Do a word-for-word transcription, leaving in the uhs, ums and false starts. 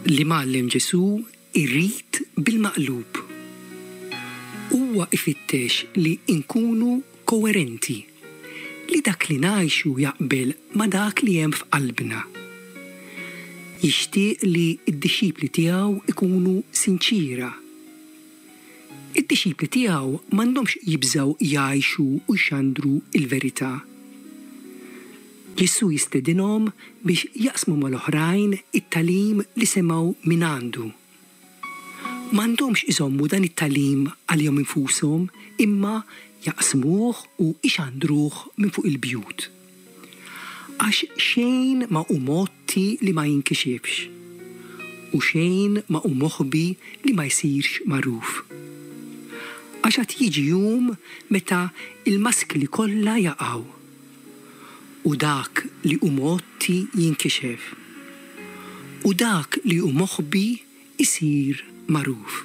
L-Imgħallem Ġesù irid bil-maqlub. Huwa ifittex li nkunu koerenti, li dak li ngħixu jaqbel ma' dak li hemm f'qalbna. Jixtieq li d-dixxipli tiegħu ikunu sinċiera. Id-dixxipli tiegħu m'għandhomx jibżgħu jgħixu u jxandru il-verità. Ġesù jistedinhom biex jaqsmu mal-oħrajn it-tagħlim li semgħu minn għandu. M'għandhomx iżommu dan it-tagħlim għalihom infushom, imma jaqsmuh u ixandruh minn fuq il-bjut. Għax xejn ma hu mgħotti li ma jinkixifx, u xejn ma hu moħbi li ma jsirx magħruf. Għax għad jiġi jum meta il-maskli kollha jaqgħu, u dak li hu mgħotti jinkixef, u dak li hu moħbi isir magħruf.